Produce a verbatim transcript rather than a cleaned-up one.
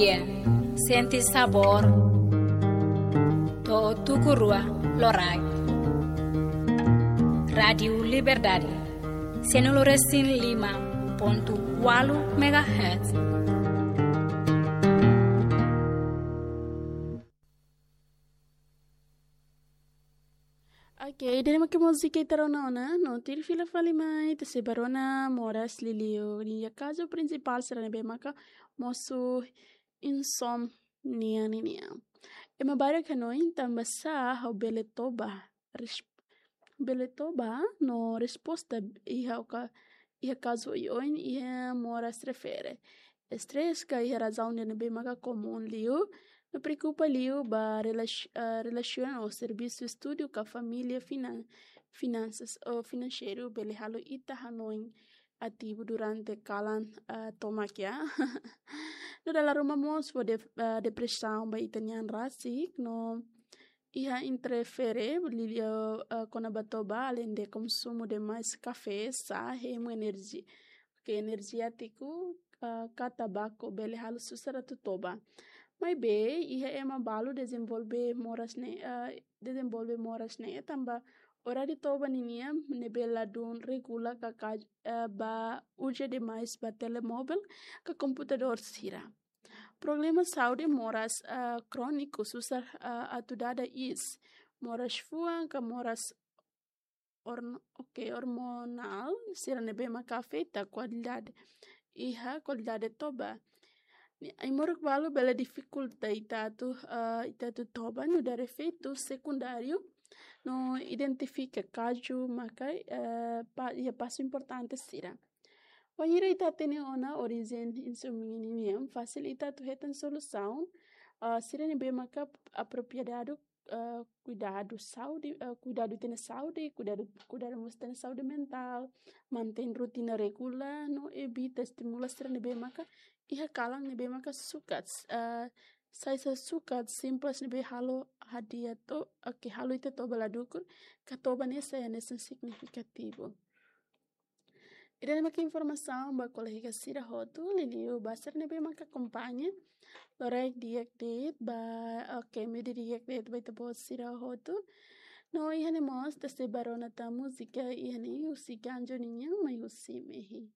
Sente sabór. To'o tuku rua loraik. Rádiu Liberdade, sianulu resin lima pontu ualu megahertz. Ok, ida-ne'e mak múzika ita rona ona, no tuir fila fali mai, ita sei bá rona moras liuliu nia kazu prinsipál sira ne'ebé maka mosu insómnia ninian. Ema barak hanoin tanbasá ha'u bele toba, res-, bele toba no resposta iha oka-, iha kazu oioin iha moras refere. Estrés ka iha razaun ida ne'ebé maka komún liu, no preokupa liu ba relax-, ah, relasiona ou servisu, estudu ka família, finan-, finansas ou finanseiru bele halo ita hanoin ativu durante kalan, ah, tomak, ya. No dala ruma mós fó de-, ah, depresaun ba ita-nia an rasik, no iha interfere liuliu, ah, kona-ba toba, alende konsumu demais kafé, sá, hemu enerji-, ke enerjétiku, ah, ka tabaku bele halo susar atu toba. Maibé, iha ema balu dezenvolve moras ne'e, ah, dezenvolve moras ne'e tanba oráriu toba ninian ne'ebé ladún regula ka, ka, eh, ba uza demais ba telemovel ka komputadór sira. Problema saúde moras, eh, króniku susar, eh, atu dada iis. Moras fuan ka moras orn-, ok, ormonál sira ne'ebé maka afeta kualidade, iha kualidade toba. Ne'e, ai-moruk balu bele difikulta ita atu, ah, ita atu toba nu'udar efeitu sekundáriu, no identifika kazu maka, eh, pa-, iha pasu importante sira. Wainhira ita hatene ona orijen insómnia ninian, fasil ita atu hetan solusaun, ah, sira ne'ebé maka apropriadu, ah, kuidadu saúde, ah, kuidadu ita-nia saúde, kuidadu, kuidadu mós ita-nia saúde mentál, mantein rotina regulár, no evita estimula sira ne'ebé maka iha kalan ne'ebé maka sukat, ah, saida sukat simples ne'ebé halo hadi'a to-, ah, ke halo ita toba la dukur, ka toba ne'e sai hanesan signifikativu. Ida-ne'e mak informasaun ba kolega sira hotu, liuliu ba sira ne'ebé maka akompaña loraik di'ak de'it ba, ok, mídia di'ak de'it ba ita-boot sira hotu. No iha ne'e mós ita sei bá rona tan múzika iha ne'e husi Ganjo ninian, mai husi Mehi.